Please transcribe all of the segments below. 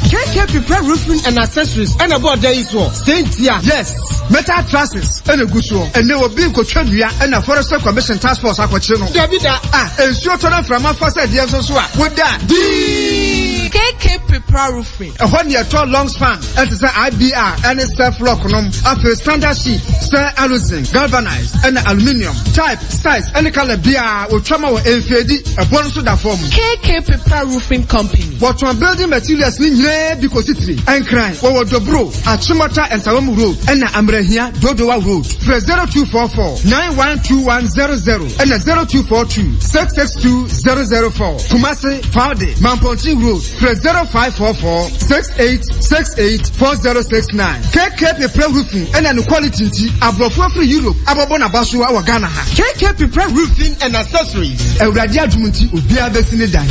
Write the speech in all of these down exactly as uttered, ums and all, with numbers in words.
K K Prepare Roofing and Accessories ɛna ɛbɔ ɔda yi soɔ sɛntia. Yes, metal trusses ɛna egu soɔ. Ɛnɛ obi nkotwa nnua ɛna Forestry Commission Task Force akɔkye no. Dabi da. Ah, nsuo tɔ na mframa fa sɛ deɛ nso so a woda dii. K K Prepare Roofing. Ɛhɔ ne ɛtɔ long span ɛte sɛ I B R ɛne self lock nom, afei standard sheet sɛ aluzinc, galvanized ɛna aluminium, type, size ɛne colour biara otwa ma wɔ mfeedi ɛbɔ no so da fam. K K Prepare Roofing Company. Wɔtɔn building materials ne nyinaa bi kɔsi tiri. Ɛnkran wɔwɔ Dobro, Achimota Nsawam Road ɛna Amrahia Dodowa Road. Frɛ zero two four four nine one two one zero zero ɛna zero two four two six six two zero zero four. Kumasi Faude Mampontin Road, frɛ zero five four four six eight six eight four zero six nine. K K Prepare Roofing ɛna ne quality nti aborɔfo afiri Europe abɔbɔ n'aba so wɔ Ghana ha. K K Prepare Roofing and Accessories. Awurade adum nti obiara bɛsi ne dan.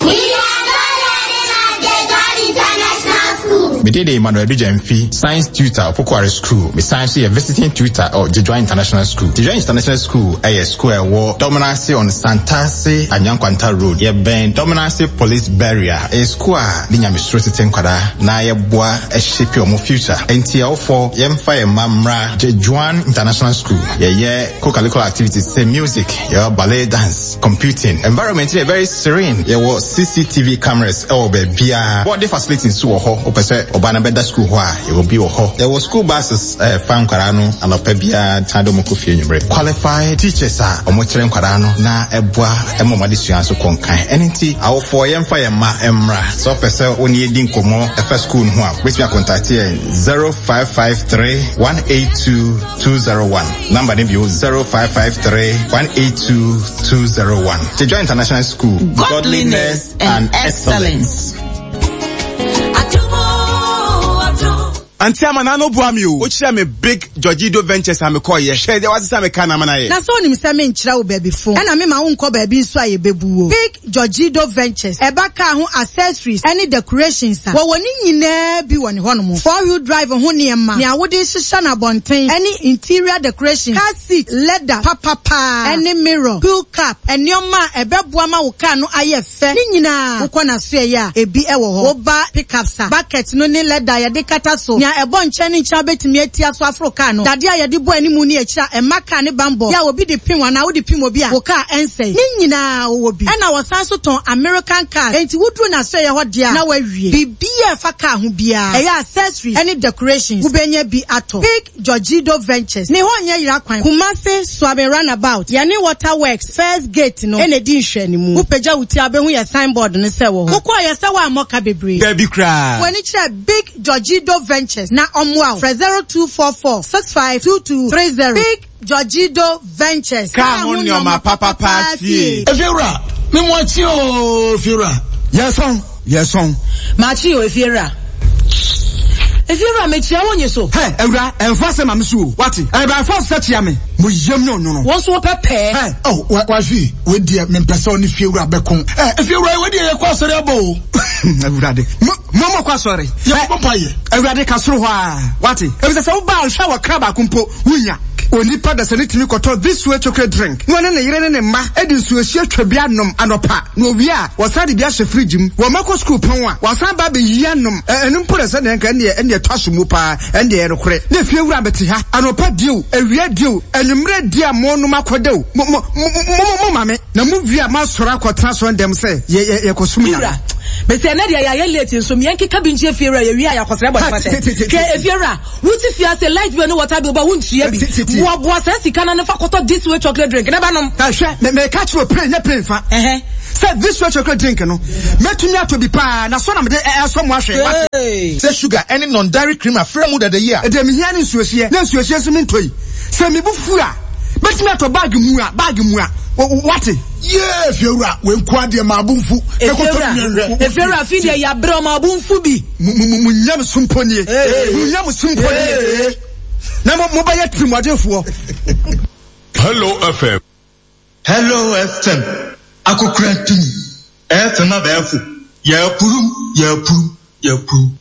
We are not learning at Jejuan International School. Mede de Emmanuel Adujamfi, science tutor Opokuare School. Mesan so yɛ visiting tutor ɔ Jejuan International School. Jejuan International School ɛyɛ school a ɛwɔ Dominase on Santase Anyankwanta Road. Yɛbɛn Dominase Police Barrier. Ɛyɛ school a ne nyamesuro tete nkwadaa na yɛboa ɛhyepe ɔmo future. Enti ɛwofoɔ, yɛmfa yɛn mma mmra Jejuan International School. Yɛyɛ co-curricular activities sɛ music, yɛwɔ ballet dance, computing. Environment yɛ very serene. Yɛwɔ C C T V cameras ɛwɔ baabiara. Boarding facility nso wɔ hɔ. Wopɛ sɛ ɔbaa no bɛda school hɔ a, yɛwɔ bi wɔ hɔ. Yɛwɔ school buses ɛfa nkwadaa no anɔpa biara san de ɔmo kɔ fie anwummerɛ. Qualified teachers a ɔmo kyerɛ nkwadaa no na ɛboa ɛma ɔmo adesua nso kɔ nkan. Ɛno nti awofoɔ, yɛmfa yɛn mma mmra. Sɛ ɔpɛ sɛ wo ne yɛdi nkɔmmɔ ɛfa school no ho a, wobɛtumi acontact yɛn zero five five three one eight two two zero one. Number no bio, zero five five three one eight two two zero one. Jejuan International School. Godliness and excellence. Auntie Ama, na no boa mi o. Wokyerɛ me Big Georgido Ventures a mekɔɔyɛ. Hwɛ deɛ wasesa me ka na ama no ayɛ. Na sɛ wonim sɛ menkyerɛ wo baabi fo ɛna mema wonkɔ baabi nso a yɛbɛbu wo. Big Georgido Ventures ɛba kaa ho accessories ɛne decorations a wɔwɔ ne nyinaa bi wɔ ne hɔnom, four wheel drive ho nneɛma, nea wode hyehyɛ no abɔnten ɛne interior decoration, car seat leather papapaa ɛne mirror, wheel cap, nneɛma a ɛbɛboa ma wo car no ayɛ fɛ ne nyinaa wokɔ n'asoɛyɛ a ebi ɛwɔ hɔ. Woba pickups a, bucket no ne leather a yɛde kata so, nea ɛbɔ nkyɛn ne nkyɛn bɛtumi atia so aforo car no, dadeɛ a yɛde bɔ anim ne akyire a ɛma car ne bambɔ yɛ a obi de pim anaa wode pim obi a wo car ɛnsɛe ne nyinaa wɔwɔ bi. Ɛna wɔsan so tɔn American cars, enti woduru n'asoɛyɛ hɔ deɛ a na wawie biribiara ɛfa car ho biara, ɛyɛ accessories ɛne decorations, wobɛnya bi atɔ. Big Georgido Ventures ne hɔ nyɛ yera kwan. Kumase Suame Roundabout, yɛne Water Works first gate no ɛna edi nhwɛnimu. Wopagya wo ti a, wobɛhu yɛ signboard no sɛ wɔ hɔ. Wokɔɔ yɛ sɛ woammɔ ka bebree. Dabi koraa. W'ani kyerɛ Big Georgido Ventures na ɔmmoa wo. Frɛ zero two four four six five two two three zero. Big Georgido Ventures. Kaa ho nneɛma papapa fie. Efiewura, mi mu akyi ooo, efiewura. Yɛsɔn, yɛsɔn. Maakye o, efiewura. Efiewura, mekyia wo nye so. Hɛ, awura, ɛnfa sɛ ma me so o, wate? Ɛbɛn fɔ sɛ kyia me mo yam ne ɔnwono. Wɔn nso wɔpɛ pɛɛ. Hɛ. Oh, wa wahwi, wei deɛ mempɛ sɛ ɔne fiewura bɛko. Ɛ, efiewura, wei deɛ yɛkɔ asɔre abɔ o. Awurade, mo mo mo kɔ asɔre. Yɛkɔ mpa yɛ. Awurade ka soro hɔ a, wate? Efisɛ sɛ woba ahwɛ wɔ kra baako mpo wunya. Onipa dasa ne tumi kɔtɔ This Way chocolate drink na ɔne ne yere ne ne mma de nsuohyia twa bi anom anɔpa, na owie a wɔsan de bi ahyɛ fridge mu. Wɔn akɔ sukuu pɔn a, wɔasan ba abɛyi anom. Ɛno mpo na sɛ deɛ nka ɛndeɛ ɛndeɛ tɔ aso mu paa, ɛndeɛ ɛnokorɛ na efie wura bɛte ha anɔpa die o, awia die o, anwummerɛ die a mo nom akɔda o, mo mo mo mo mo ma me na mo wie a mo asɔre akɔtena so ndɛm sɛ yɛ yɛ yɛkɔsom Nyame. Wura, bɛsɛ ɛnɛ deɛ yɛayɛ late nso meɛn keka bi nkyerɛ fiewura, yɛwie a yɛakɔsrɛ bɔne fakyɛ. Hwɛ, efiewura, wote fie ase, light bill ne water bill ba, wontua bi. Boaboa saa sika no ne fa kɔtɔ This Way chocolate drink ne ba nom. Hwɛ, meka kyerɛ o, plane nyɛ plane fa sɛ This Way chocolate drink no mɛtumi atɔ bi paa na so na mede ɛsɔ mo ahwɛ, wate? Sɛ sugar ɛne non-dairy cream afra mu dada yi a. Ɛdeɛ mehia ne nsuohyeɛ, na nsuohyeɛ nso mentɔ yi. Sɛ mebu fu a, mɛtumi atɔ bag mu a bag mu a, wate? Yee, fiewura, wei nko adeɛ maa bo nfu. Efiewura, efiewura, fi deɛ yɛabrɛ ɔma bo nfu bi. Mo nyam so mpo nie, mo nyam so mpo nie na mo mobɛyɛ tirimɔdenfoɔ. Hello F M. Hello F M. Akokora ntumi. F M abɛɛfo. Yɛpurum, yɛpurum, yɛpurum.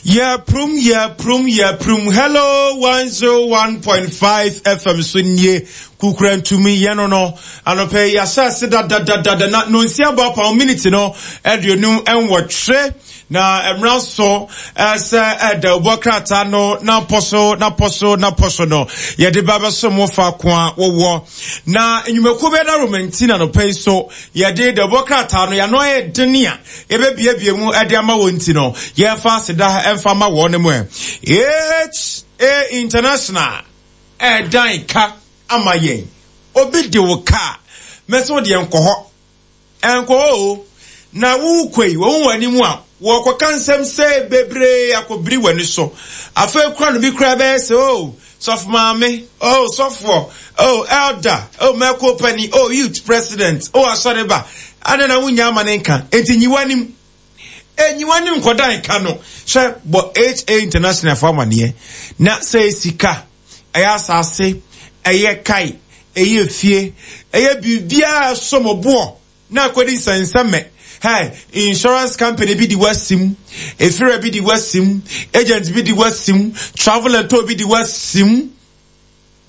Yɛprum, yɛprum, yɛprum. Hello one zero one point five F M so nie. Kukurantumi yɛno no anɔpɛ yi ahyɛ da da da da na nonsia bɔ apam minute no aduonum nwɔtwe na mmra so sɛ ɛda obɔ krataa no na pɔso na pɔso na pɔso no yɛde ba bɛso mo fa ko a wɔwɔ na nnwumakuo bɛda romanti na anɔpɛ yi so yɛde da obɔ krataa no yɛano ayɛ dene a yɛbɛbiebie mu ɛde ama wɔn nti no yɛmfa aseda ɛmfa ma wɔn mu ɛ H A International ɛdan ka ama yɛn obi de wo ka mɛsɛ wo de nkɔ hɔ ɛnkɔ hɔ o na wo kwei wo wani mu a wo kɔka nsɛm sɛ bebree akɔbiri w'ani so afei kura no bi kura bɛyɛ sɛ o sɔfo maame o sɔfoɔ o elder o mɛko pani o youth president o asɔreba ada na wonya ama ne nka enti nyi w'anim enyi w'anim nkɔdan ka no hwɛ bɔ H A International fo amaneɛ na sɛ sika ɛyɛ asase ɛyɛ kai ɛyɛ fie ɛyɛ biribiara somboɔ na akɔdi nsɛnsɛmɛ. Hey, insurance company bi di wasim, efira bi di wasim, agent bi di wasim, travel and tour bi di wasim.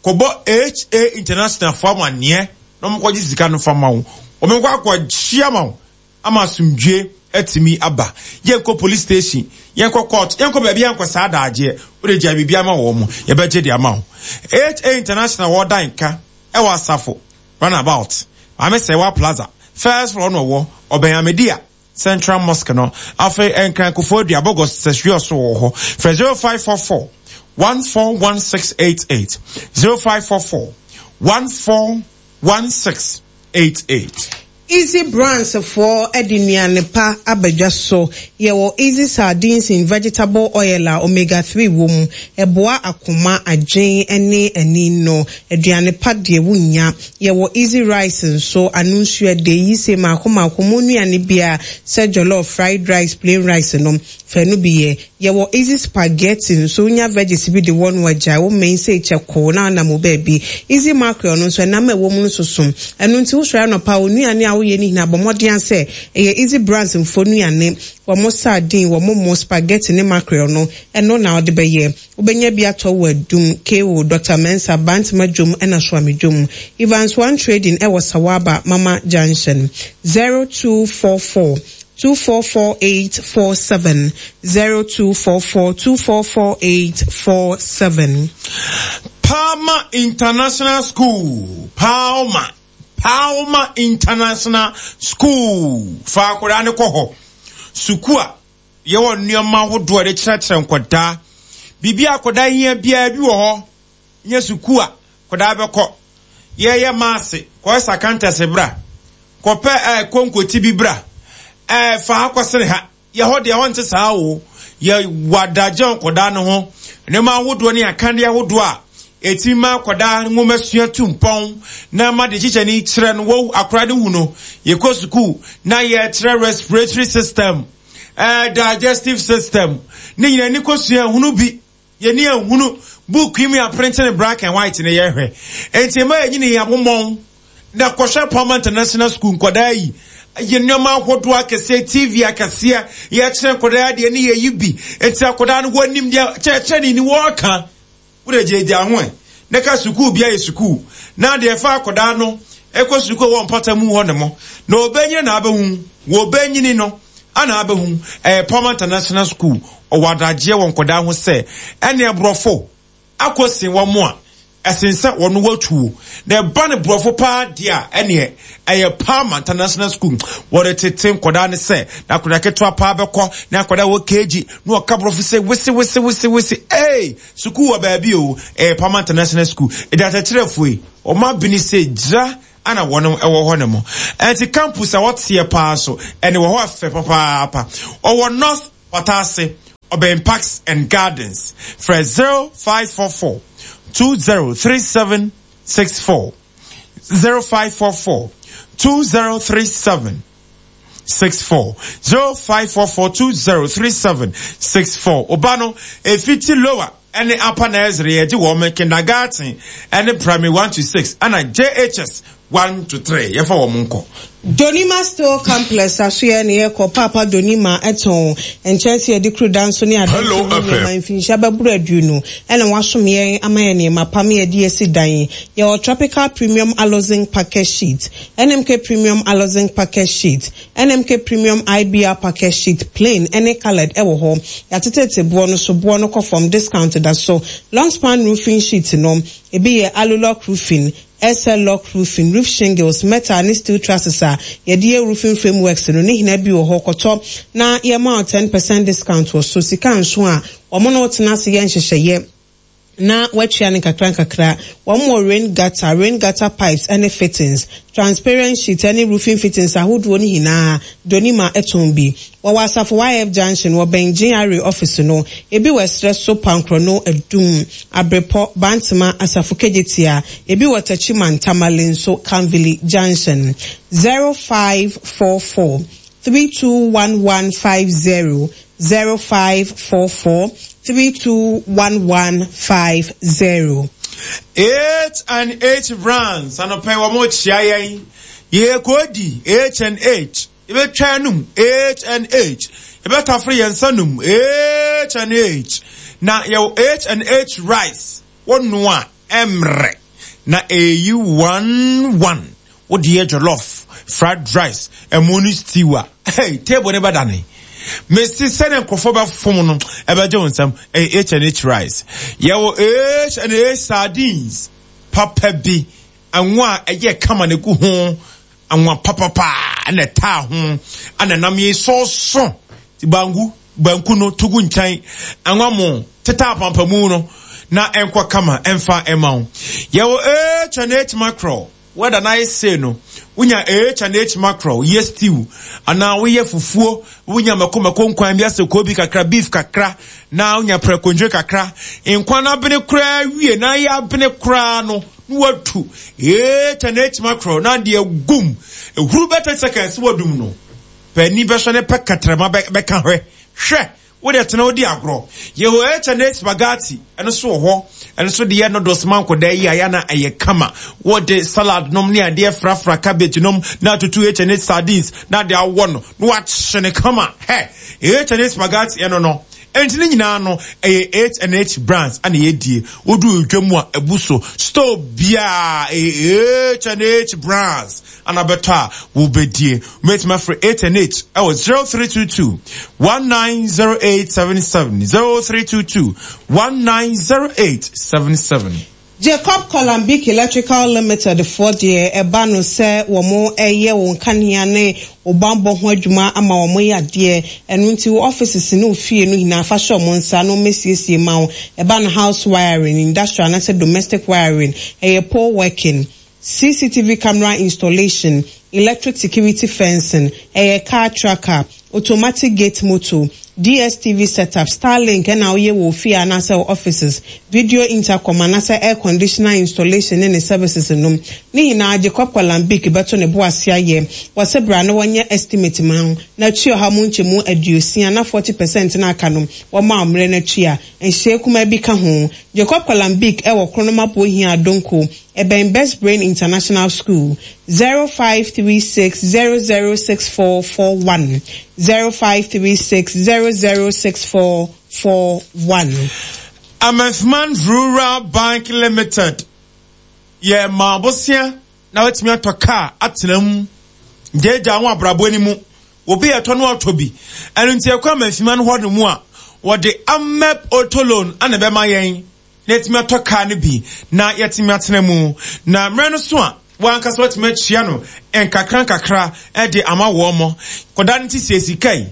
Kobo H A International for amaneɛ na ɔmo kɔgye sika no fama wo. Ɔmo kɔ akɔhyia ma wo ama asomdwe atumi aba. Yɛnkɔ police station, yɛnkɔ court, yɛnkɔ baabi yɛnkɔ saa daagyeɛ. Wode gya biribi ama wɔ mo, yɛbɛgye de ama wo. H A International wɔ dan ka ɛwɔ Asafo runabout. Maame Sɛwa Plaza. First floor no wo Obenyamedia Central Mosque no afei enkran kofo dua bogos sesio so wo ho for zero five four four one four one six eight eight zero five four four one four one six eight eight. Easy Brands for edinuane pa abadwa so yewo Easy Sardines in vegetable oil a omega three wom eboa akoma adwen ene ani no aduane pa de wunya yewo Easy Rice nso anunsu de yi se makoma akoma nuane bia se jollof fried rice plain rice no fanu biye yewo Easy Spaghetti nso nya veggies bi de won waja wo main se cheko na na mo baby Easy mackerel no nso na ma wo mu nso som enu nti wo sra no pa onuane a wo ye ni hina bomodin ase eye Easy Brands mfo nuane wo mo sardine wo mo spaghetti ne mackerel no eno na ode beye ubenya bi ato wadum K O Doctor Mensa Bantama dwom ena soame dwom Evans One Trading e wo Sawaba Mama Junction zero two four four two four four eight four seven zero two four four two four four eight four seven. Palmer International School. Palmer. Palmer International School. Fa akwadaa ne kɔ hɔ. Sukuu a yɛwɔ nneɛma ahodoɔ de kyerɛkyerɛ nkwadaa. Biribi akwadaa hia biara bi wɔ hɔ. Nyɛ sukuu a akwadaa bɛkɔ. Yɛyɛ maase kɔyɛ sakantɛse bra. Kɔpɛ ɛɛ konkoti bi bra. Eh fa akɔsere ha ye ho de ho nte saa wo ye wadagye nkoda no ho ne ma ahodoɔ ne akande ahodoɔ a eti ma akoda nwoma sua tumpɔn na ma de kyekyɛ ni kyerɛ no wo akora de hu no ye kɔ school na ye kyerɛ respiratory system eh digestive system ne nyina ni kɔ sua hunu bi ye ni ehunu book yi mu print ne black and white ne ye hwɛ enti ma ye nyini abomɔn na kɔhwɛ Palmer International School nkoda yi ye nneɛma ahodoɔ akɛseɛ T V akɛseɛ yɛkyerɛ nkɔdaa deɛ ne yɛyi bi enti akɔdaa no wɔnim deɛ kyerɛkyerɛ ne ni wɔɔka wode gyegya ho ɛ ne ka sukuu bia yɛ sukuu na deɛ fa akɔdaa no ɛkɔ sukuu wɔ mpɔta mu hɔ ne mo na ɔbɛnyini na abɛhu wɔbɛnyini no ana abɛhu ɛyɛ Palmer International School ɔwɔ adagyeɛ wɔ nkɔdaa ho sɛ ɛne aborɔfo akɔsi wɔ mo a ɛsen sɛ wɔno watuo na ɛba ne borɔfo paa deɛ a ɛneɛ ɛyɛ Palmer International School wɔde tete nkɔdaa ne sɛ na akɔdaa ketewa paa bɛkɔ na akɔdaa wɔ K G na ɔka borɔfo sɛ wese wese wese wese ee sukuu wɔ baabi o ɛyɛ Palmer International School ɛde akyerɛkyerɛfoɔ yi ɔma bini sɛ gyira ana wɔn ɛwɔ hɔ ne mo ɛnti campus a wɔteɛ paa so ɛne wɔ hɔ afɛ papaapa ɔwɔ North Patase ɔbɛn Parks and Gardens frɛ zero five four four two zero three seven six four zero five four four two zero three seven six four zero five four four two zero three seven six four. Obano efiti lower ɛne upper nursery yɛgye wɔn kindergarten ɛne primary one to six ɛna J H S one to three yɛfa wɔn nkɔ. Donima Steel Complex asoɛ ne yɛkɔ Paapa Donima ɛtɔn nkyɛnse yɛde kuru danso ne adanso mu nneɛma mfinhyia bɛboro aduonu ɛna wasom yɛn ama yɛn nneɛma pam yɛde asi dan. Yɛwɔ Tropical Premium Alozinc Package Sheet, N M K Premium Alozinc Package Sheet, N M K Premium I B R Package Sheet, plain ɛne colored ɛwɔ hɔ. Yɛatetete boɔ no so, boɔ no kɔ fam, discount da so. Long span roofing sheet no, ebi yɛ Alulock roofing, S L lock roofing, roof shingles, metal ne steel trusses a yɛde yɛ roofing frameworks no ne hina bi wɔ hɔ. Kɔtɔ na yɛma wo ten percent discount wɔ so. Sika nso a wɔn no tena ase yɛ nhyehyɛeɛ na watua ne nkakra nkakra. Wɔn wɔ rain gutter, rain gutter pipes ne fittings, transparent sheet ne roofing fittings ahodoɔ no nyinaa Donima ɛtɔn bi. Wɔwɔ Asafo Y F Junction, wɔ bɛn G R A office no. Ebi wɔ Ɛsrɛ so, Pankorɔ Adum, Abrepɔ, Bantama, Asafo Kejetia. Ebi wɔ Techiman, Tamale nso, Kanvili Junction. zero five four four three two one one five zero, zero five four four three two one one five zero. H and H Brands anɔpɛ wɔn kyia yɛn. Yɛkɔdi H and H, yɛbɛtwa num H and H, yɛbɛtafere yɛn nsa num H and H. Na yɛwɔ H and H rice, wɔnoa ɛmrɛ na ɛyi one one. Wode yɛ jollof, fried rice, ɛmo ne stew a, hey, table ne bɛdane mesi sɛdeɛ nkurɔfoɔ bɛfom no ɛbɛgye wo nsɛm. Ɛyɛ H and H rice. Yɛwɔ H and H sardines papa bi, anwa a ɛyɛ kama na egu ho, anwa papapa ɛna ɛtaa ho ɛna nam yi sɔɔso. Banku banku no tugu nkyɛn, anwa mo teta apampamu no na ɛnkɔ kama ɛmfa ɛma wo. Yɛwɔ H and H mackerel. Wɛda na ayɛ sei no, wonya H and H mackerel yɛ stew anaa woyɛ fufuo, wonya mako mako nkwan bi asɛ koobi kakra, beef kakra, na wonya prɛkondwe kakra, nkwan no abene koraa wie na ayɛ abene koraa no, na watu H and H mackerel na adeɛ gum ehuru bɛ thirty seconds wadum no pɛni bɛhwɛ ne pɛ katrama bɛka hwɛ hwɛ. Wode tena wodi agorɔ. Yɛwɔ H and H spaghetti, ɛno so wɔ hɔ. Ɛno so deɛ noodles ma nkɔda yi a yɛana ɛyɛ kama. Wɔde salad nom ne adeɛ frafra, cabbage nom na atutu H and H sardines na de awɔ no na wakye ne kama. Hɛ, H and H spaghetti ɛno no. Ɛnti ne nyinaa no ɛyɛ H and H Brands ana yɛdie. Wodu dwa mu a ɛbu so store biaa, ɛyɛ H and H Brands ana bɛtɔ a wobɛdie. Wobɛtumi afrɛ H and H ɛwɔ zero three two two one nine zero eight seven seven, zero three two two one nine zero eight seven seven. Jacob Colombic Electrical Limited foɔ deɛ, ɛba no sɛ wɔn ɛyɛ wɔn kanea ne ɔbanbɔ ho adwuma ama wɔn yɛ adeɛ. Ɛno nti wɔ offices ne ofie no nyinaa, fa hyɛ wɔn nsa na wɔn asiesie ma wo. Ɛba no house wiring, industrial anaasɛ domestic wiring, ɛyɛ pole working, C C T V camera installation, electric security fencing, ɛyɛ car tracker, automatic gate motor, D S T V setup, Starlink ɛna woyɛ wɔ ofie anaasɛ wɔ offices, video intercom anaasɛ air conditioner installation ne ne services nom ne nyinaa, Jacob Colombic bɛto ne bo ase ayɛ. Wɔsɛ bra na wɔnyɛ estimate ma ho na tua ɔha mu nkyɛmu aduosia na forty percent na aka no wɔma mmerɛ no akyi a nhyɛ kuma bi ka ho. Jacob Colombic ɛwɔ Kronoma Bohia Adonko, ɛbɛn Best Brain International School. zero five three six zero zero six four four one, zero five three six zero zero six four four one. Amefman Rural Bank Limited yɛ maa bosia na watumi atɔ kaa atena mu gyegya ho abrabɔ ni mu. Obi yɛtɔ no atɔ bi. Ɛno nti ɛkɔ Amefman hɔ no mu a wɔde Amep Auto Loan ana ɛbɛma yɛn na yɛtumi atɔ kaa no bi na yɛtumi atena mu, na mmerɛ no so a wankasa watumi akyia no nkakra nkakra ɛde ama wɔn mo kɔda no. Ti sɛ sika yi,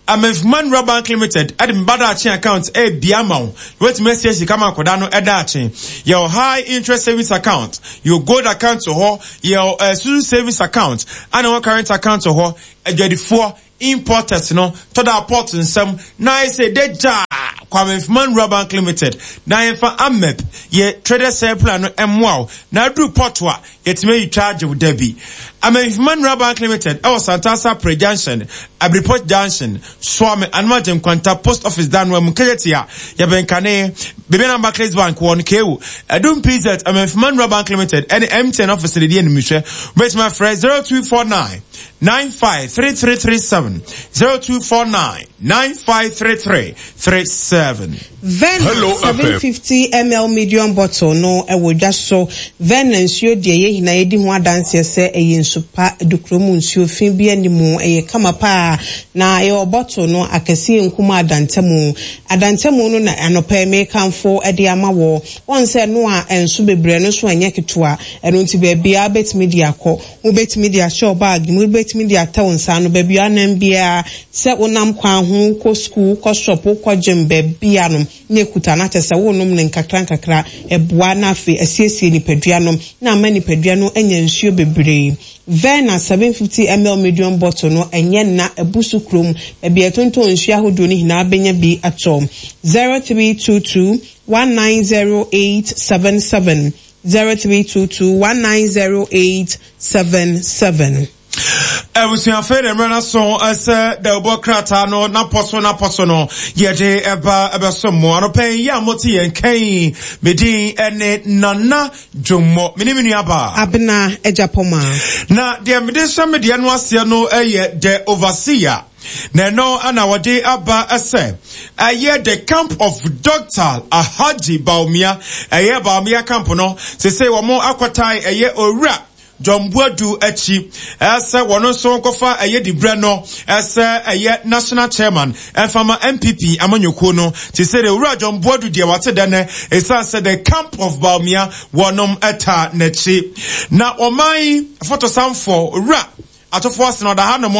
Amefman Rural Bank Limited ɛde mba daakye account ɛbia ama wo na watumi asie sika ma akɔda no ɛdaakye. Yɛwɔ high interest savings account, yɛwɔ gold account wɔ hɔ, yɛwɔ uh, susu savings account ana wɔ current account wɔ hɔ. Adwadifoɔ, importers no tɔda port nsɛm na ayɛ sɛ degya Kwame Mfuman Rural Bank Limited na yɛmfa Amep yɛ trader sale plan no ɛmmoa wo na aduru port a yɛtumi ayi twa agye wo da bi. Amenfi Monroe Bank Limited ɛwɔ Santasa Pre Junction, Abripot Junction, Suame Anumagye Nkwanta Post Office Danwa mu Kejetia, yɛbɛnkane Bibiana Barclays Bank wɔ Nkewu, Adum P Z Amenfi Monroe Bank Limited ɛne M T N office de di animhwɛ. Wobɛtumi afrɛ zero two four nine nine five three three three seven, zero two four nine nine five three three three seven. Verna seven fifty milliliters medium bottle no ɛwɔ dwa so. Verna nsuo deɛ yɛ nyinaa yɛdi ho adanseɛ sɛ ɛyɛ nsu pa dukuro mu nsuo fi bi anim ɛyɛ kama paa na ɛwɔ bottle no akɛseɛ nkuma adantamu adantamu no na anɔpɛ mekamfo ɛde ama wɔ wɔn sɛ no a nsu bebree no so ɛnyɛ ketewa ɛno nti baabi a betumi de akɔ wobɛtumi de ahyɛ bag mu wobɛtumi de atɛ nsa no baabi anam bia sɛ wonam kwan ho kɔ school kɔ shop kɔ gym baabi a no ne kuta na kyɛ sɛ wonom ne nkakra nkakra ɛboa na afei asiesie nipadua no na ama nipadua no anya nsuo bebree. Verna seven fifty milliliters medium bottle no ɛnyɛ na ebusu krom baabi ɛtonton nsuo ahodoɔ no nyinaa bɛnya bi atɔ. Zero three two two one nine zero eight seven seven, zero three two two one nine zero eight seven seven. Ebusuafo de mmerɛ so ɛsɛ dɛwbɔ krataa no na pɔso na pɔso no yɛde ɛba ɛbɛso mo anɔpɛ yi a mote yɛn kɛn medin ɛne Nana Dwommo mene me nua ba Abena Ejapoma na deɛ mede hyɛ me deɛ no aseɛ no ɛyɛ the overseer na ɛno ana wɔde aba ɛsɛ ɛyɛ the camp of Doctor Alhaji Bawumia ɛyɛ Bawumia camp no sese wɔn akɔtae ɛyɛ owura John Boadu akyi ɛsɛ wɔn nso nkɔfa ɛyɛ dibrɛ no ɛsɛ ɛyɛ national chairman ɛfama N P P amanyɔkuo no te sɛ de owura John Boadu deɛ wate dɛ nɛ ɛsiane sɛ the camp of Bawumia wɔnom ɛta n'akyi na ɔman fotosanfoɔ owura atofo asena ɔda ha nom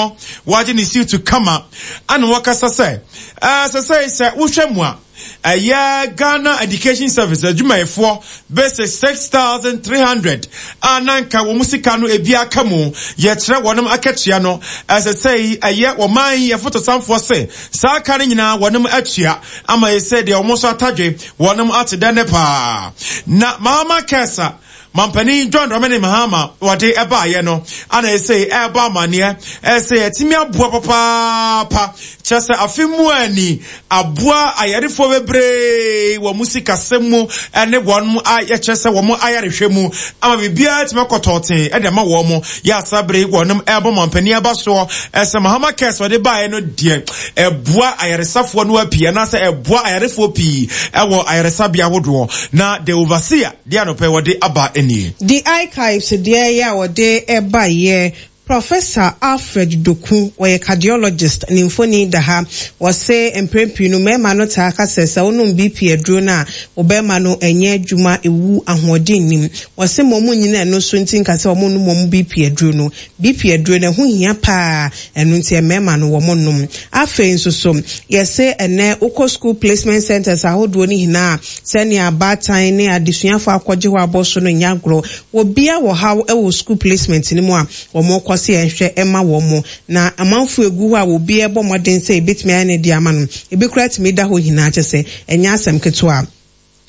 wagye ne siw kama ana wɔkasa sɛ ɛsɛ sɛ sɛ wohwɛ mu a ɛyɛ Ghana Education Service adwumayɛfoɔ bɛsɛ six thousand three hundred a nanka wɔn sika no ebi aka mu yɛkyerɛ wɔnom akatua no ɛsɛ sɛ ɛyɛ wɔman yɛ fotosanfoɔ sɛ saa aka no nyinaa wɔnom atua ama yɛsɛ deɛ wɔn nso atadwe wɔnom ate dɛ ne paa na Mahama Kɛsa Mampani John Dramani Mahama wɔde ɛbaayɛ no ana ɛsɛ ɛba amaneɛ ɛsɛ ɛtumi aboa papaapa kyerɛ sɛ afe mu ani aboa ayarefoɔ bebree wɔ mu sikasɛm mu ɛne wɔn a yɛkyerɛ sɛ wɔn ayarehwɛ mu ama biribiara tumi akɔtɔɔten ɛde ama wɔn mo yɛ asabere wɔnom ɛbɔ mampani aba soɔ ɛsɛ Mahama Kɛs wɔde baayɛ no deɛ ɛboa ayaresafoɔ no apii anaasɛ ɛboa ayarefoɔ pii ɛwɔ ayaresabea ahodoɔ na the overseer deɛ anɔpɛ wɔde aba enie. The archives deɛ yɛ a wɔde ɛba yɛ Professor Alfred Doku, wɔyɛ cardiologist ne mfoni da ha. Wɔse mprempren no mmarima no taa ka sɛ sɛ wonom B P aduro no a wɔbɛma no ɛnyɛ adwuma ewu ahoɔden nim. Wɔse ma ɔmo nyina ɛno so nti nka sɛ ɔmo nom ɔmo B P aduro no. B P aduro no ɛho hia paa ɛno nti mmarima no wɔmo nom. Afei nso so yɛse ɛnɛ wokɔ school placement centers ahodoɔ ne nyinaa sɛnea abaatan ne adesuafo akɔgye hɔ abɔ so no nya agorɔ. Wɔbia wɔ haw ɛwɔ school placement no mu a wɔmo kɔ sɛ yɛnhwɛ ɛma wɔn mo na amanfo egu hɔ a obi ɛbɔ mmɔden sɛ ebetumi ayɛ ne de ama no ebi kura tumi da hɔ nyinaa kyɛ sɛ ɛnyɛ asɛm ketewa.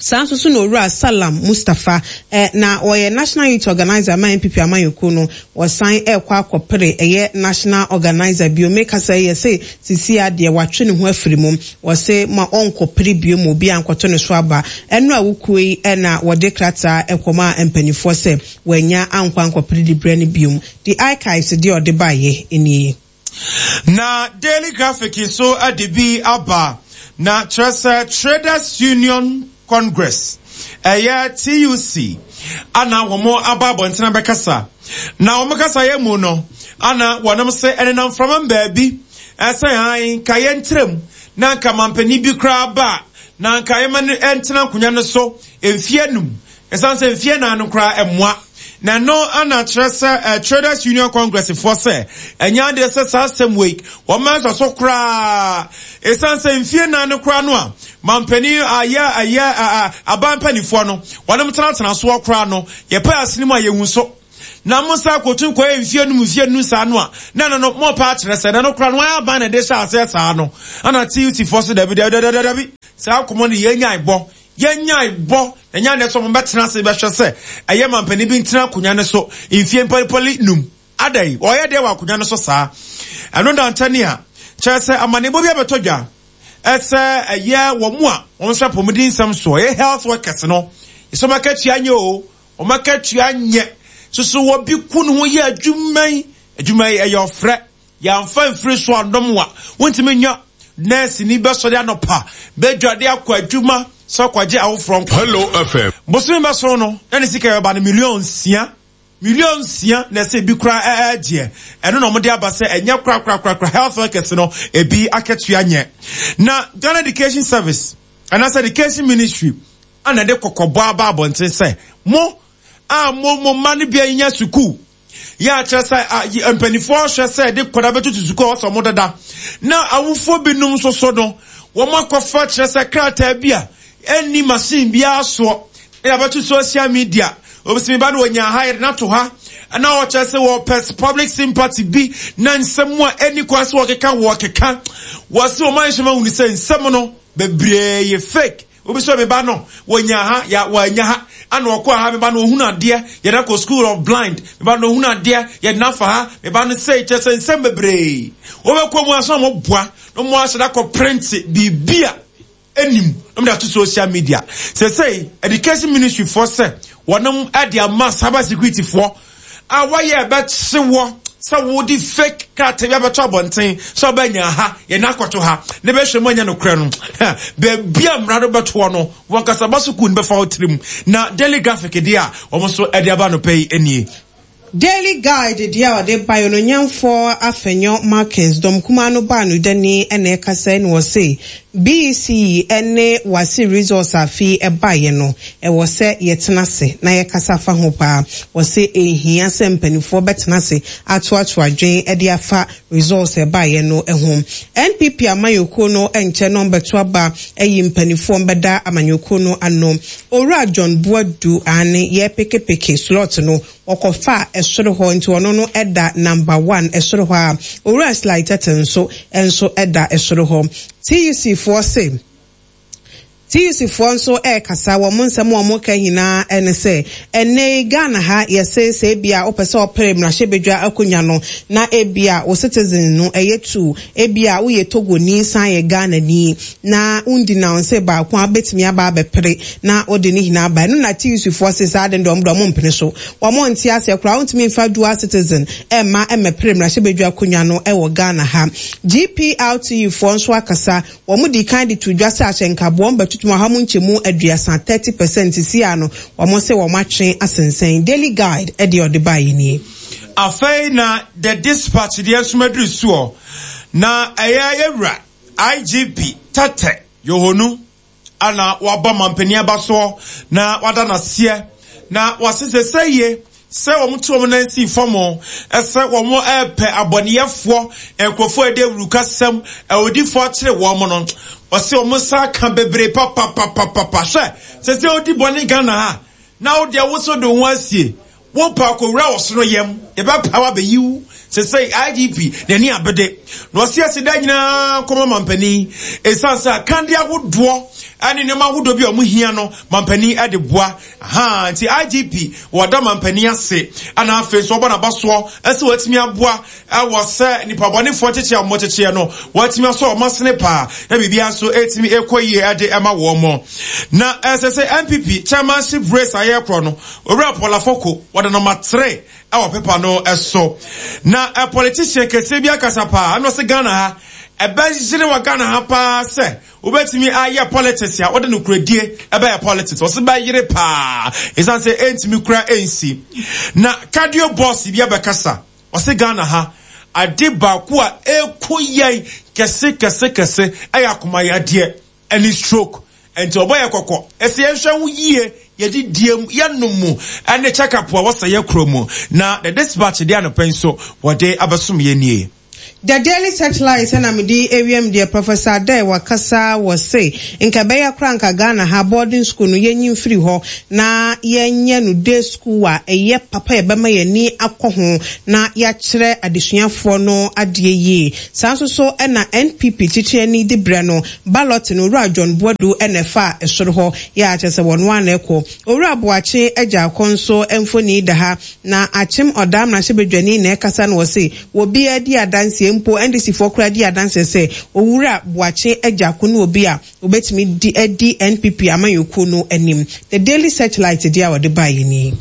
Saa nso so na owura Salam Mustafa eh, na ɔyɛ National Youth Organizer ma N P P amanyɔkuo no wɔsan ɛkɔ akɔpere ɛyɛ National Organizer bio mekasa yɛ sɛ sisi adeɛ watwe ne ho afiri mu wɔse ma ɔnkɔpere bio ma obi ankɔto ne so aba ɛno a wokuo yi ɛna wɔde krataa ɛkɔma mpanimfoɔ sɛ wɔanya ankɔ ankɔpere de brɛ no bio. The archives deɛ ɔde baeɛ nie. Na Daily Graphic so ade bi aba na kyerɛ sɛ Traders Union Congress ɛyɛ T U C ana wɔn aba abɔntene bɛkasa na wɔn kasa yɛ mu no ana wɔnom sɛ ɛnenam framam baabi ɛsɛ han ka yɛ ntrem na nka mampanin bi koraa ba na nka yɛma no ɛntena nkonnwa no so mfie num ɛsan sɛ mfie nan no koraa ɛmmoa na no ana kyerɛ sɛ Traders Union Congress foɔ sɛ ɛnya adeɛ sɛ saa asɛm wei wɔn nso so koraa ɛsan sɛ mfie nan no koraa no a mampanin ayɛ ayɛ aban mpanifoɔ no wɔnom tenatena soɔ koraa no yɛpɛ asene mu a yɛhu so na mo nsa akɔtu nkɔyɛ mfie num mfie num saa no a na no no mo pa akyerɛ sɛ na no koraa no wɔayɛ aban na ɛde hyɛ aseɛ saa no ana T U C foɔ so dabi dabi dabi dabi saa akɔmmɔ no yɛnyae bɔ yɛnyae bɔ Ɛnyɛ ne so mo bɛtena ase bɛhwɛ sɛ ɛyɛ mampanin bi ntena akonnwa ne so mfie mpɔlipɔli num adai ɔyɛ deɛ wɔ akonnwa ne so saa ɛno da nkyɛne a kyerɛ sɛ amanebɔ bi abɛtɔ dwa ɛsɛ ɛyɛ wɔn mu a wɔn nso apɔmuden nsɛm so ɛyɛ health workers no ɛsɛ wɔn akatua nyɛ o wɔn akatua nyɛ soso wɔ bi ku ne ho yɛ adwuma yi adwuma yi ɛyɛ ɔfrɛ yɛamfa mfiri so adɔm wa wontumi nya nurse ni bɛsɔre anɔpa bɛdwade akɔ adwuma sɛ ɔkɔgye awoforɔ nkɔ. Hello F M. Bosome bɛso no na ne sika yɛba no million nsia million nsia na ɛsɛ ebi kora ɛɛgyeɛ ɛno na wɔde aba sɛ ɛnyɛ kora kora kora kora health workers no ebi akatua nyɛ. Na Ghana Education Service anaasɛ Education Ministry ana de kɔkɔbɔ aba abɔnten sɛ mo a mo mo mma no bia nya sukuu ya kyerɛ sɛ mpanimfoɔ hwɛ sɛ de kɔda bɛtutu sukuu a wɔsɔ mo dada na awofoɔ binom nso so no wɔn akɔfa kyerɛ sɛ krataa bi a ɛnni machine biara soɔ na yɛabɛto social media obisimi ba no wɔnya ha yɛde n'ato ha na wɔkyerɛ sɛ wɔpɛ public sympathy bi na nsɛm a ɛnni kwan sɛ wɔkeka wɔkeka wɔsi wɔn ayɛ hyɛn ahunu sɛ nsɛm no bebree yɛ fake. Obi so me ba no wonya ha ya wanya ha ana okọ ha me ba no ohunu ade ye na ko school of blind me ba no ohunu ade ye na fa ha me ba no say chese nsem bebre wo be ko mu aso mo boa no mo aseda ko print bibia enim no me to social media say say education ministry for say wonum ade ama cyber security for a wo ye be hyewo sɛ wodi fake krataa bi abɛtɔ abɔnten sɛ ɔbɛnya ha yɛ n'akɔto ha ne bɛhwɛ mu anya nokorɛ no baabi a mmara no bɛtoɔ no wɔn kasa ba sukuu no bɛfa wo tirim na Daily Graphic deɛ a wɔn nso de aba no pɛ yi nie. Daily Guide deɛ a ɔde ba yɛ no nyamfoɔ Afenyo Markins dɔm kumaa no baa no dani ɛna ɛkasa ɛna wɔse B E C ɛne wasi resource afi ɛba yɛ no ɛwɔ sɛ yɛtena ase na yɛkasa fa ho paa wɔse ehia sɛ mpanimfoɔ bɛtena ase atoato adwen ɛde afa resource ɛba yɛ no ɛho N P P amanyɔkuo no ɛnkyɛ no mbɛto aba ɛyi mpanimfoɔ mbɛda amanyɔkuo no ano Owura John Boadu ane yɛ pekepeke slot no ɔkɔfa ɛsoro hɔ nti ɔno no ɛda number one ɛsoro hɔ a Owura Sly Tete nso ɛnso ɛda ɛsoro hɔ T U C foɔ se T U C foɔ nso ɛrekasa wɔn nsɛm a wɔn ka nyinaa ɛne sɛ ɛnɛ Ghana ha yɛsɛ sɛ ebia wopɛ sɛ ɔpere mmarahyɛbadwa akonnwa no na ebia wo citizen no ɛyɛ two ebia woyɛ Togoni san yɛ Ghana ni na wundi na nse baako abetumi aba abɛpere na wode ne nyinaa aba ɛno na T U C foɔ se saa de ndɔm dɔm mpene so wɔn nte ase koraa wontumi mfa dual citizen ɛmma ɛmɛpere mmarahyɛbadwa akonnwa no ɛwɔ Ghana ha G P R T U foɔ nso akasa wɔn di kan de to dwa sɛ ahyɛnkaboɔ mbɛtutu ha mu nkyɛmu aduasa thirty percent si ano wɔn sɛ wɔn atwe asensɛn Daily Guide ɛde ɔde ba yi nie. Afei na The Dispatch deɛ nso maduru soɔ na ɛyɛ yɛwura I G P Tete Yohonu ana waba mampanin aba soɔ na wada n'aseɛ na wasese sɛ yie sɛ wɔn to wɔn nan si fam ɛsɛ wɔn ɛpɛ abɔneyɛfoɔ nkurɔfoɔ ɛde awurukasɛm ɛwodifoɔ akyerɛ wɔn no ɔsɛ wɔn nsa ka bebree papapapapa hwɛ sɛ sɛ odi bɔne Ghana ha na wo deɛ woso de ho asie wo pa akɔwura ɔsono yam yɛbɛpa wa bɛyiw sɛ sɛ I G P n'ani abede na ɔsi ase da nyinaa kɔma mampanin ɛsiane sɛ akande ahodoɔ ɛne nneɛma ahodoɔ bi a wɔn hia no mampanin ɛde boa ha nti I G P wɔda mampanin ase ana afei nso ɔbɔ n'aba soɔ ɛsɛ wɔatumi aboa ɛwɔ sɛ nipa bɔnefoɔ kyekyɛ a wɔkyekyɛ no wɔatumi asɔ wɔn asene paa na biribiara nso ɛtumi ɛkɔ yie ɛde ɛma wɔn mo na ɛsɛ sɛ N P P chairmanship race ayɛ korɔ no Owura Paul Afoko wɔde number three ɛwɔ pepa no ɛso na a politician kɛseɛ bi akasa paa ɛna ɔsɛ Ghana ha ɛbɛgyere wɔ Ghana ha paa sɛ wobɛtumi ayɛ politics a wode no kuradie ɛbɛyɛ politics ɔsɛ bɛyere paa ɛsiane sɛ ɛntumi kura ɛnsi na cardio boss bi abɛkasa ɔsɛ Ghana ha ade baako a ɛkɔ yɛn kɛse kɛse kɛse ɛyɛ akomayadeɛ ɛne stroke nti ɔbɔ yɛ kɔkɔ ɛsɛ yɛnhwɛ ho yie yɛde diem yɛnom mu ɛne check-up a wɔsɛ yɛ kuro mu na The Dispatch deɛ anɔpɛ nso wɔde abɛsom yɛ nie. The Daily Searchlight na mede ewiem deɛ Professor Adair wakasa wɔ se nka bɛyɛ kora nka Ghana ha boarding school no yɛnyi mfiri hɔ na yɛnyɛ no day school a ɛyɛ papa yɛbɛma yɛni akɔ ho na yɛakyerɛ adesuafoɔ no adeɛ yie. Saa nso so ɛna N P P kyekyerɛni de brɛ no ballot no, Owura John Boadu ɛna ɛfa ɛsoro hɔ yɛ akyɛ sɛ wɔn ano ɛkɔ. Owura Boakye Agya akɔ nso mfoni da ha na akyem ɔdaa mmarahyɛbadwani na ɛkasa no wɔ se obiara di adanseɛ, mpo N D C foɔ koraa di adanseɛ sɛ Owura Boakye Agyarko no obi a obetumi di adi N P P amanyɔkuo no anim. The Daily Searchlight deɛ a wɔde baeɛ ni.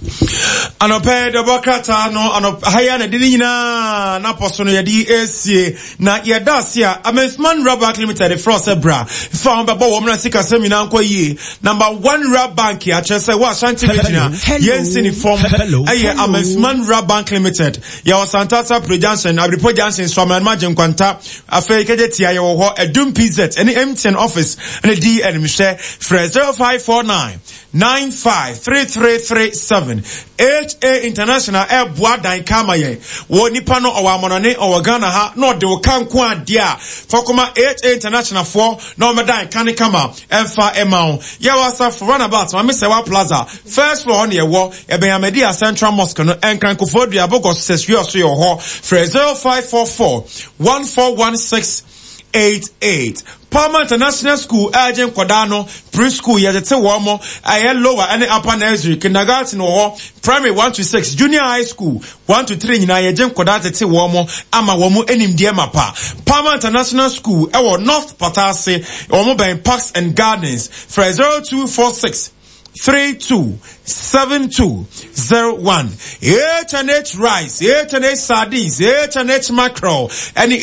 Anɔpɛ dɔbɔ krataa no anɔpɛ ha yi a na de ne nyinaa n'apɔ so no yɛde esie na yɛda ase a Amensman Rural Bank Limited frɛ sɛ bra fa ho bɛbɔ wɔn na sikasɛm nyinaa nkɔ yie. Number one rural bank akyerɛ sɛ wɔ Ashanti Region a yɛnsi ne fam ɛyɛ Amensman Rural Bank Limited. Yɛwɔ Santasa Pre Junction, Abiripo Junction, Suamanuma Gyenkwanta, afei Kegye Tia yɛwɔ hɔ, Adum P Z ɛne M T N office ɛne di animhwɛ. Frɛ zero five four nine nine five three three three seven. H A International ɛboa dan kama yɛn wɔ nipa no ɔwɔ amɔnɔne, ɔwɔ Ghana ha na ɔde wo ka nko adeɛ a fɔkɔma H A International foɔ na ɔmɛdan ka ne kama ɛmfa ɛma wo. Yɛwɔ Asafo Runabout, Maame Sɛwa Plaza, first floor hɔ ne yɛwɔ, ɛbɛn Amadi Central Mosque no. Ɛnkran Kofoɔ Dua Abogɔ sɛsua so yɛ wɔ hɔ. Frɛ zero five four four one four one six eight eight. Palmer International School ɛgye nkɔdaa no preschool, yɛtete wɔn mo ɛyɛ lower ɛne upper nursery, kindergarten wɔ hɔ, primary one to six, junior high school one to three nyinaa yɛgye nkɔdaa tete wɔn mo ama wɔn mo animdeɛ mapa. Palmer International School ɛwɔ North Patase, wɔn bɛn Parks and Gardens. Frɛ zero two four six three two seven two zero one. H and H rice, H and H sardines, H and H mackerel, ɛne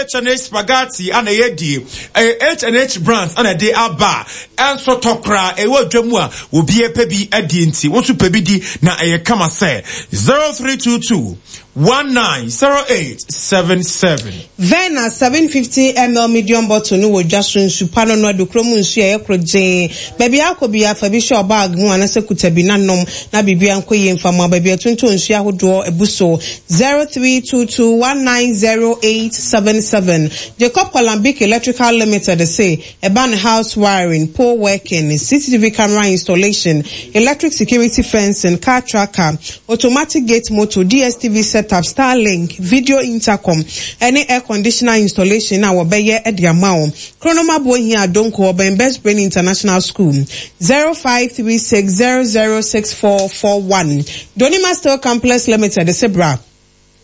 H and H spaghetti ana yɛ die. Ɛyɛ H and H brands ana ɛde aba. Ɛnso tɔkora ɛwɔ dwa mu a obi ɛpɛ bi adi nti woso pɛ bi di na ɛyɛ kama sɛ zero three two two one nine zero eight seven seven. Vena seven fifty milliliters medium bottle no wɔ dwa so. Nsu pa no no adukuro mu nsu a ɛyɛ koro gyee. Baabi akɔ bi afa bi hyɛ ɔbag mu anasɛ kuta bi nanom na biribi ankɔ yie mfama. Baabi atontɔn nsu ahodoɔ ebu so zero three two two one nine zero eight seven seven. Jacob Kolambik Electrical Limited say ɛba ne house wiring, pole working, C C T V camera installation, electric security fencing, car tracker, automatic gate motor, D S T V setup, Starlink, video intercom, ɛne air conditioner installation a wɔbɛyɛ de ama wo. Kronoma Bohia Adonko, ɔbɛn Best Brain International School, zero five three six zero zero six four four one. Donima Steel Complex Limited sebra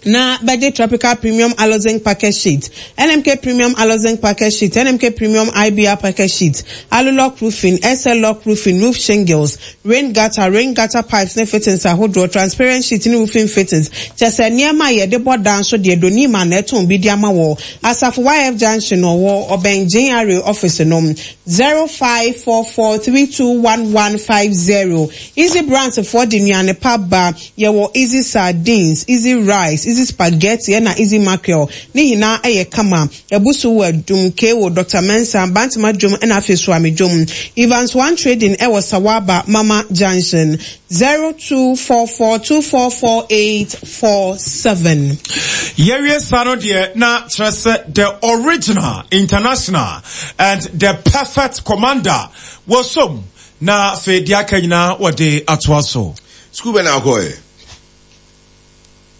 na bɛgye Tropical Premium Aluzinc package sheet, N M K Premium Aluzinc package sheet, N M K Premium I B R package sheet, Alulock roofing, S L lock roofing, roof shingles, rain gutter, rain gutter pipes ne fittings ahodoɔ, transparent sheet ne roofing fittings. Kyɛ sɛ nneɛma a yɛde bɔ dan so deɛ, Donima na ɛtɔn bi de ama wɔ Asafo Y F Junction, ɔwɔ ɔbɛn J R A office no, zero five four four three two one one five zero. Easy Brands foɔ de nnuane pa ba. Yɛwɔ Easy sardines, Easy rice, Easy spaghetti ɛna Easy mackerel ne nyinaa ɛyɛ kama. Ɛbu so wɔ Adum Kewo, Doctor Mensa, Bantama Dwom ɛna afei Suame Dwom. Evans One Trading ɛwɔ Sawaba Mama Junction, zero two four four two four four eight four seven. Yɛwie saa no deɛ na kyerɛ sɛ the original international and the perfect commander wɔsom na afei deɛ aka nyinaa wɔde atoa so. School bɛ na akɔ yɛ?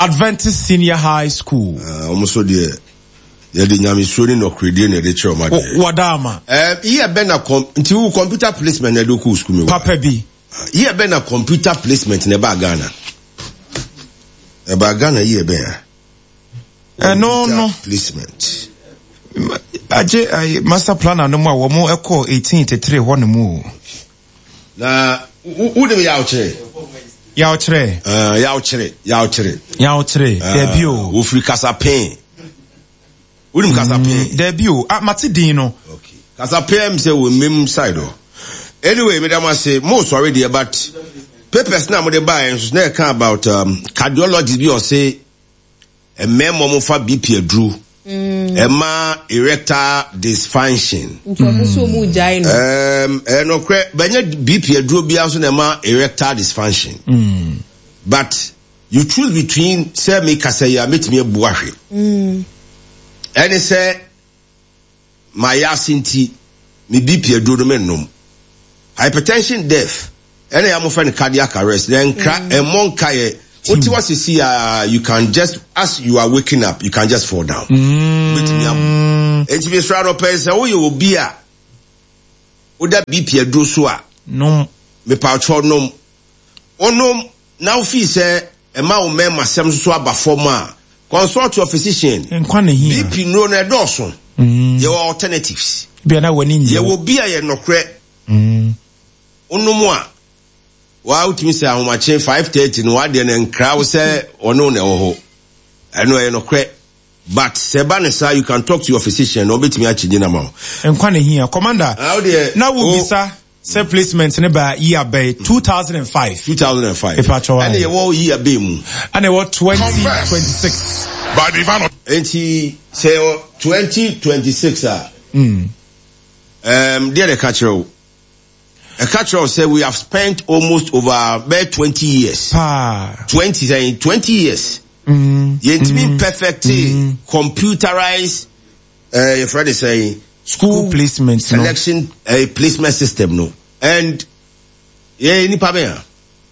Adventist Senior High School. Ɔmo so deɛ yɛde nyamesuro ne nɔkoredie na yɛde kyerɛ ɔmo adeɛ. Wɔdaama. Ɛɛ yíyɛ bɛ na kɔm nti wo computer placement na ɛde kɔ school mi wɔ. Papa bi. Yíyɛ bɛ na computer placement na ɛbaa Ghana. Ɛbaa Ghana yíyɛ bɛ ya. Ɛno no. Placement. Agye ayi master planner no mu a wɔn ɛkɔ eighteen eighty three hɔ nom o. Na wo de mi yawkyerɛ. Yawkyerɛ. Ɛɛ yawkyerɛ yawkyerɛ. Yawkyerɛ dɛbi o. Wofiri Kasapin. Wonim Kasapin? Dɛbi o, ah, mate din no. Okay. Kasapin sɛ wɔ mmem side hɔ. Anyway, medam ase mo sɔre deɛ, but papers na mo de baa nso na ɛka about um, cardiologist bi ɔse mmarima mo fa B P aduro ɛma erectile dysfunction. Nti ɔmo nso ɔmo gyae no. Um, ɛnokorɛ bɛnyɛ B P aduro biara nso na ɛma erectile dysfunction. Mm. But you choose between sɛ mi kasa yi a metumi abu ahwɛ. Mm. Ɛne sɛ mayɛ nti me B P aduro no mennom. Hypertension death ɛna yɛ amofrɛ no cardiac arrest na nkra ɛmmɔ nkaeɛ. Wote wa sisi a, you can just, as you are waking up, you can just fall down. Wobɛtumi abo. Enti mesrɛ anɔpɛ sɛ woyɛ obi a woda B P aduro so a, nom. Mepawkyɛw, nom. Wonom na wofii sɛ ɛma wo mmarima sɛm so aba fam a, consult your physician. Nkwa na hia. B P nnuro no ɛdɔɔso. Yɛwɔ alternatives. Bia na w'ani nye. Yɛwɔ bi a yɛ nɔkorɛ. Wonom a waa wotumi sɛ ahomakye five thirty no, wadeɛ no nkra wo sɛ ɔne wo na ɛwɔ hɔ. Ɛno ɛyɛ nɔkorɛ, but sɛ ɛba ne saa, you can talk to your physician na ɔbɛtumi akyegye na ma wo. Nkwa na hia, Commander. Ah, wo deɛ, na wo o- bisa sɛ placement ne ba yi abɛn two thousand and five. two thousand and five. Mepatwɔ. Ɛne yɛwɔ yi abɛn mu. Ɛna ɛwɔ twenty twenty-six. By Divano. Nti sɛ yɛwɔ twenty twenty-six a, Mm. um, deɛ na ɛka kyerɛ wo, ɛka kyerɛ wo sɛ we have spent almost over bɛɛ twenty years. Paa. twenty sɛn, twenty years. Mm. Yɛntumi perfect computerized uh, yɛfrɛ ne sɛn, school placement no. Selection uh, placement system no, and yɛ nipa bɛn a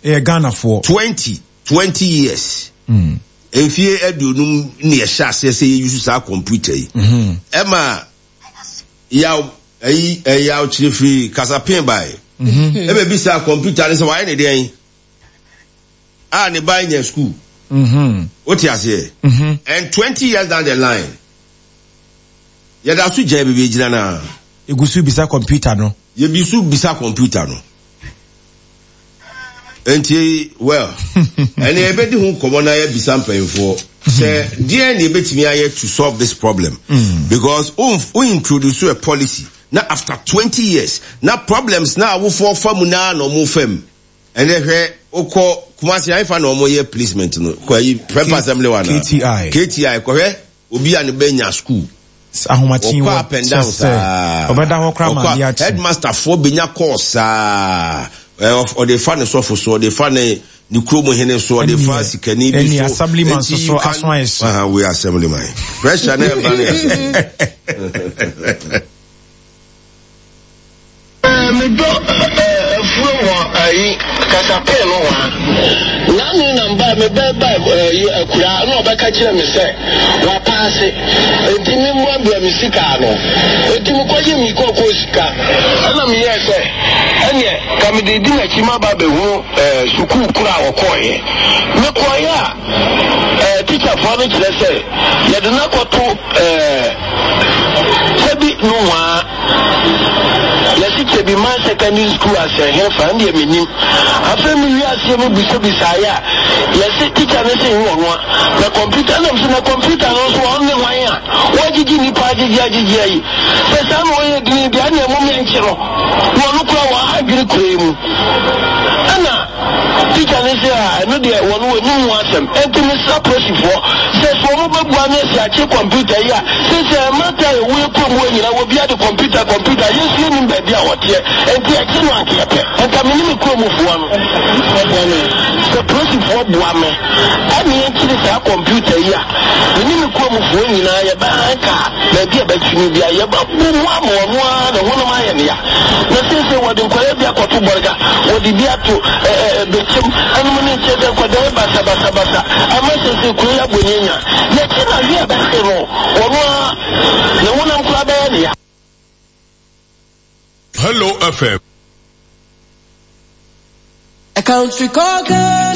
Ɛyɛ Ghanafoɔ. twenty twenty years. Mm. Mfie aduonum ne yɛhyɛ aseɛ sɛ yɛuse saa computer yi. Mhm. Ɛma yaw ɛyi ɛyaw kyerɛ firi kasapin bae. Mhm. Ɛbɛ bi saa computer ne sɛ wayɛ ne deɛn a ne ba nya school. Mhm. Wote aseɛ? Mhm. And twenty years down the line, yɛda so gya baabi gyina naa. Egu so bisa computer no. Yɛbi so bisa computer no. Nti well, ɛne yɛbɛdi ho nkɔmmɔ na yɛbisa mpanyinfoɔ sɛ deɛ ne yɛbɛtumi ayɛ to solve this problem, because wo wo introduce a policy na after twenty years na problems na awofoɔ fa mu naa na ɔmo fam. Ɛnɛ hwɛ, wokɔ Kumasi ayifa na ɔmo yɛ placement no, kɔ ayi Prep Assembly wa na K T I. K T I, kɔhwɛ obi a ne bɛ nya school. Ahomakye. Ɔkɔ up and down saa. Ɔbɛda hɔ koraa ma Ɔkɔ ade akye. Headmaster foɔ benya course saa. Ɛ, ɔde fa ne sɔfo so, ɔde fa ne ne kurom hene so, ɔde fa sikani bi Ɛne so. Assemblyman Enti so so you can- aso ayɛ hye. Aha, we assemblyman pressure na ɛba ne yɛ. Medɔ afuo wɔ ayi kasapee no hɔ a nanu na mba mebɛba ayi akura na ɔbɛka kyerɛ me sɛ wapaase, enti memmoaboa me sika ano, enti mekɔgye me kɔkɔɔ sika, ɛna meyɛɛ sɛ ɛneɛ ka mede di m'akyi maba bɛhunu sukuu koro a wɔkɔɔeɛ. Mekɔɔeɛ a, tikyafoɔ no kyerɛ sɛ yɛde no akɔto sɛbi nohoa, yɛsi kyɛbi man secondary school asɛ hefa ndeɛ menim. Afei mewie aseɛ mu bisabisaeɛ a, yɛse tikya no sɛ nyɛ ɔno a na computer nam so, na computer no nso ɔno ne hwan a wɔagyegye nnipa agyegye agyegye ayi sɛ saa na ɔyɛ dini deɛ, ɛne ɛmo mɛnkye no na ɔno kora wɔ adwene kura yi mu. Ɛna tikya no sɛ a ɛno deɛ wɔno wɔnim ho asɛm. Ɛnti mesra polisifoɔ sɛ sɛ ɔmo bɛbua no asi akye computer yi a sɛsɛ mmata a ɛwɔ kurom hɔ nyina wɔbia de computer computer yɛnso yɛnim baabi a wɔteɛ, ɛnti akye no ankeɛ pɛ. Ɛnka me ne me kuromfoɔ no sɛ polisifoɔ boa me ɛne yɛnkyere saa computer yi a, me ne me kuromfoɔ nyinaa yɛbɛhan kaa baabi a bɛtumi bia yɛbɛbo mu ama ɔno ara ne honam ayɛ ne ya. Na seesei wɔde nkwadaa bi akɔto Bɔrga, wɔde bi ato Bɛkyɛm ɛnom ne nkyɛn sɛ nkwadaa yi basabasabasa ama seesei kuro yi abɔ ne anya. Yɛkye na hwɛ a bɛhwe no, ɔno ara ne honam koraa bɛyɛ ne ya. Hello F M. A country called Ghana.